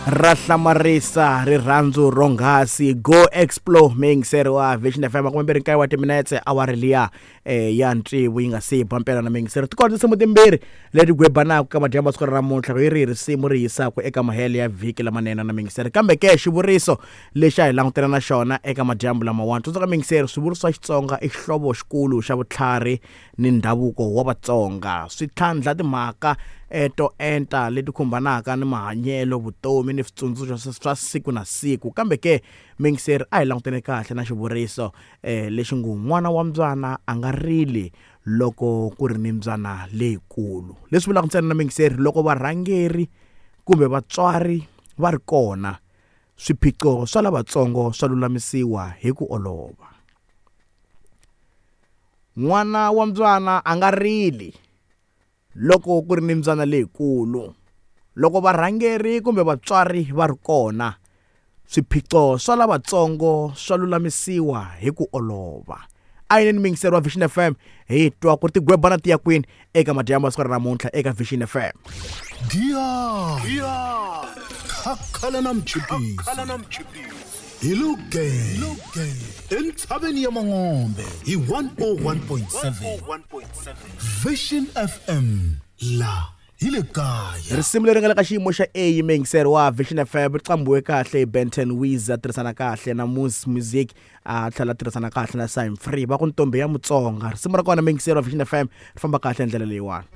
Ra hlamarisa rirhandzu ronghasi. Go explore miyingiseri wa Vision FM, 29 wa timinetse awara liya ya ntsevu yi nga se ba mpela na miyingiseri. Ti kona tinsimu timbirhi leti gwebanaka ka madyambu siku ra namuntlha, yi ri risimu ri yisaka eka mahelo ya vhiki lamanene na miyingiseri. Kambe ke xivuriso lexi a hi langutela na xona eka madyambu lamawani, tsundzuka miyingiseri, swivuriso swa Xitsonga i xihlovo xikulu xa vutlhari ni ndhavuko wa Vatsonga. Swi tlhandla timhaka to enta leti khumbanaka ni mahanyelo, vutomi ni switsundzuxo swa siku na siku. Kambe ke miyingiseri, a hi langutene kahle na xivuriso lexi ngo n'wana wa mbyana a nga rili loko ku ri ni mbyana leyikulu. Leswi vulaka ntsena na miyingiseri, loko varhangeri kumbe vatswari va ri kona, swiphiqo swa lavatsongo swa lulamisiwa hi ku olova. N'wana wa mbyana a nga rili loko ku ri ni mbyana leyikulu. Loko varhangeri kumbe vatswari va ri kona, swiphiqo swa lavatsongo swa lulamisiwa hi ku olova. A yineni miyingiseri wa Vision FM, hi twa ku ri tigwebana ti ya kwini eka madyambu ya siku ra namuntlha eka Vision FM. Giya khakhala na mchipisi hi luge entshaveni ya Mangombe hi 101.7 Vision FM, la hi le kaya. Risimu leri nga le ka xiyimo xa A, miyingiseri wa Vision FM, ri qambiwe kahle hi Benton Wiz, a tirhisana kahle na Moose Music, a tlhela a tirhisana kahle na Sim Free, va ku Ntombi ya Mutsonga. Risimu ra kona, miyingiseri wa Vision FM, ri famba kahle hi ndlela leyiwani.